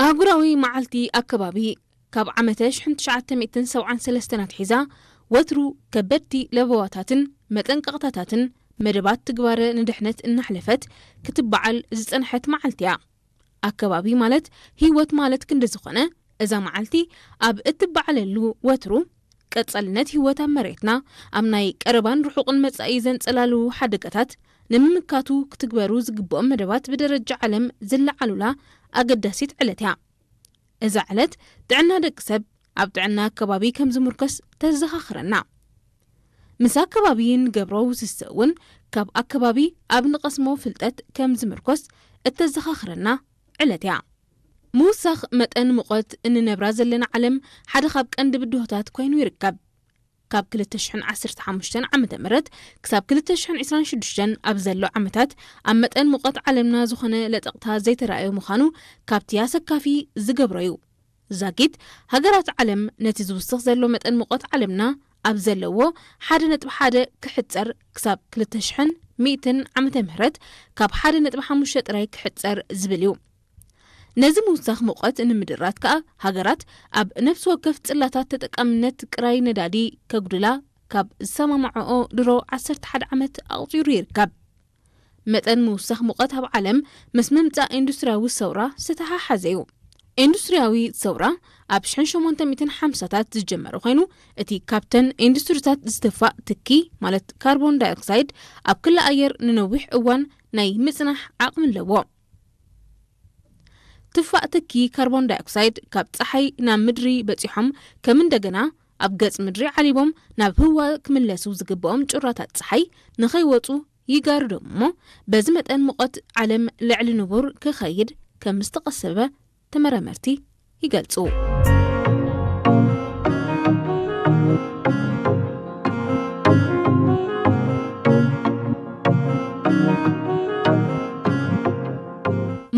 ኣህጉራዊ መዓልቲ ኣከባቢ ካብ ዓመተ ሽሕን ትሽዓተ ሚእትን ሰብዓን ሰለስተን ኣትሒዛ ወትሩ ከበድቲ ለበዋታትን መጠንቀቕታታትን መደባት ትግባረ ንድሕነት እናሕለፈት ክትበዓል ዝጸንሐት መዓልቲ እያ። ኣከባቢ ማለት ህይወት ማለት ክንዲ ዝኾነ፣ እዛ መዓልቲ ኣብ እትበዓለሉ ወትሩ ቀጻልነት ህይወት ኣብ መሬትና ኣብ ናይ ቀረባን ርሑቕን መጻኢ ዘንጸላልዉ ሓደጋታት ንምምካቱ ክትግበሩ ዝግብኦም መደባት ብደረጃ ዓለም ዝለዓሉላ ኣገዳሲት ዕለት እያ። እዛ ዕለት ጥዕና ደቂ ሰብ ኣብ ጥዕና ኣከባቢ ከም ዝምርኮስ ተዘኻኽረና። ምስ ኣከባቢ ንገብሮ ውስስእ እውን ካብ ኣከባቢ ኣብ ንቐስሞ ፍልጠት ከም ዝምርኮስ እተዘኻኽረና ዕለት እያ። ምውሳኽ መጠን ሙቐት እንነብራ ዘለና ዓለም ሓደ ካብ ቀንዲ ብድሆታት ኮይኑ ይርከብ። ካብ ክልተ ሽሕን ዓሰርተ ሓሙሽተን ዓመተ ምህረት ክሳብ ክልተ ሽሕን ዕስራን ሽዱሽተን ኣብ ዘሎ ዓመታት ኣብ መጠን ሙቐት ዓለምና ዝኾነ ለጠቕታ ዘይተራእየ ምዃኑ ካብቲ ኣሰካፊ ዝገብሮ እዩ። ዛጊት ሃገራት ዓለም ነቲ ዝውስኽ ዘሎ መጠን ሙቐት ዓለምና ኣብ ዘለዎ ሓደ ነጥቢ ሓደ ክሕጸር ክሳብ ክልተ ሽሕን ሚእትን ዓመተ ምህረት ካብ ሓደ ነጥቢ ሓሙሽተ ጥራይ ክሕጸር ዝብል እዩ። ነዚ ምውሳኽ ሙቐት ንምድራት ከኣ ሃገራት ኣብ ነፍሲ ወከፍ ጽላታት ተጠቃምነት ጥራይ ነዳዲ ከጉድላ ካብ ዝሰማማዕኦ ድሮ ዓሰርተ ሓደ ዓመት ኣቑጺሩ ይርከብ። መጠን ምውሳኽ ሙቐት ኣብ ዓለም ምስ ምምጻእ ኢንዱስትርያዊ ሰውራ ዝተሓሓዘ እዩ። ኢንዱስትርያዊ ሰውራ ኣብ ሽሕን ሸሞንተ ሚእትን ሓምሳታት ዝጀመረ ኮይኑ፣ እቲ ካብተን ኢንዱስትሪታት ዝትፋእ ትኪ ማለት ካርቦን ዳይኦክሳይድ ኣብ ክሊ ኣየር ንነዊሕ እዋን ናይ ምጽናሕ ዓቕሚ ኣለዎ። ትፋእ ትኪ ካርቦን ዳይኦክሳይድ ካብ ጸሓይ ናብ ምድሪ በጺሖም ከም እንደገና ኣብ ገጽ ምድሪ ዓሊቦም ናብ ህዋ ክምለሱ ዝግብኦም ጩራታት ጸሓይ ንኸይወጹ ይጋርዶም እሞ በዚ መጠን ሙቐት ዓለም ልዕሊ ንቡር ክኸይድ ከም ዝተቐሰበ ተመራመርቲ ይገልጹ።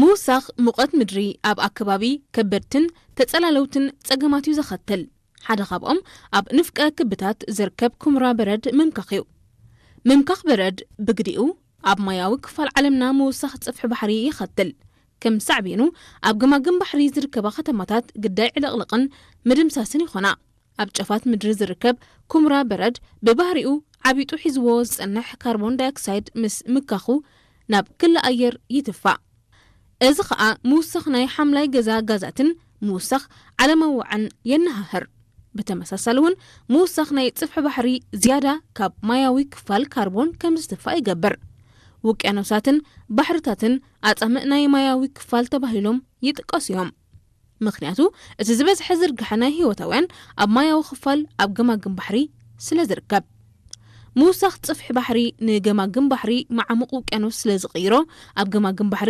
ምውሳኽ ሙቐት ምድሪ ኣብ ኣከባቢ ከበድትን ተጸላለውትን ጸገማት እዩ ዘኸትል። ሓደ ካብኦም ኣብ ንፍቀ ክብታት ዝርከብ ኩምራ በረድ ምምካኽ እዩ። ምምካኽ በረድ ብግዲኡ ኣብ ማያዊ ክፋል ዓለምና ምውሳኽ ጽፍሒ ባሕሪ ይኸትል። ከም ሳዕቤኑ ኣብ ገማግም ባሕሪ ዝርከባ ከተማታት ግዳይ ዕልቕልቕን ምድምሳስን ይኾና። ኣብ ጫፋት ምድሪ ዝርከብ ኩምራ በረድ ብባህሪኡ ዓቢጡ ሒዝዎ ዝጸንሕ ካርቦን ዳይኦክሳይድ ምስ ምካኹ ናብ ክሊ ኣየር ይትፋእ። እዚ ኸኣ ምውሳኽ ናይ ሓምላይ ገዛ ጋዛትን ምውሳኽ ዓለማዊ ዋዕን የነሃህር። ብተመሳሳሊ እውን ምውሳኽ ናይ ጽፍሒ ባሕሪ ዝያዳ ካብ ማያዊ ክፋል ካርቦን ከም ዝትፋእ ይገብር። ውቅያኖሳትን ባሕርታትን ኣጻምእ ናይ ማያዊ ክፋል ተባሂሎም ይጥቀሱ እዮም። ምኽንያቱ እቲ ዝበዝሐ ዝርግሐ ናይ ህይወታውያን ኣብ ማያዊ ክፋል ኣብ ገማግም ባሕሪ ስለ ዝርከብ። ምውሳኽ ጽፍሒ ባሕሪ ንገማግም ባሕሪ መዓሙቕ ውቅያኖስ ስለ ዝቕይሮ ኣብ ገማግም ባሕሪ